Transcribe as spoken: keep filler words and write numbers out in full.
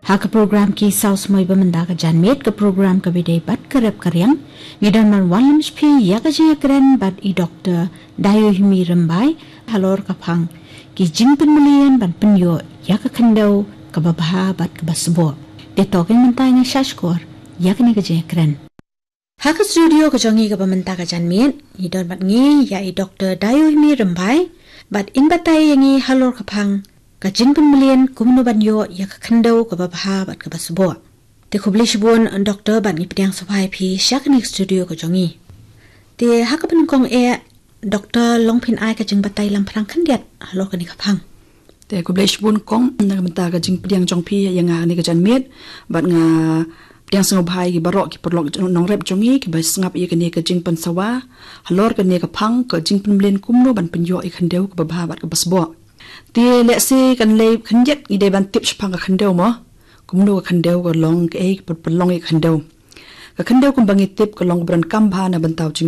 Ha ka program Ki Saw Smoi Ba Mynta Ka Janmiet, ka program kaba ïadei bad ka rep ka riang, ngi don ban wanlam sha phi ïa ka jingïakren bad i Doktor Dayohimi Rymbai, halor ka phang ki jingpynmlien ban pynïoh ïa ka khyndew kaba bha bad kaba sboh. Te to kein mynta ngin ïa shah shkor ïa kane ka jingïakren. Ha ka studio ka jong ngi kaba mynta ka janmiet, ngi don bad ngi ïa i Doktor Dayohimi Rymbai, bad in batai ïa ngi halor ka phang ka jingpynmlien kumno ban ïoh ïa ka khyndew kaba bha bad kaba sboh. Te khublei shibun Doktor, bad ngi pdiang sngewbha ïa phi sha kane ka studio ka jong ngi. Te ha kaba nyngkong eh, Doktor, long phin ai ka jingbatai lamphrang khyndiat halor kane ka phang. Te khublei shibun kong na ka bynta ka jingpdiang jong phi ïa nga ha kane ka janmiet, bad nga pdiang sngewbha ïa ki baroh ki paralok nongrep jong ngi kiba sngap ïa kane ka jingpynsawa halor kane ka phang ka jingpynmlien kumno ban pynïoh ïa ka khyndew kaba bha bad kaba sboh. Te lehse kan lei khyndiat ngi dei ban tip shaphang ka khyndew mo, kumno ka khyndew ka long, kaei ka pynlong ïa ka khyndew. Ka khyndew kumba ngi tip ka long kaba donkam bha na bynta u jing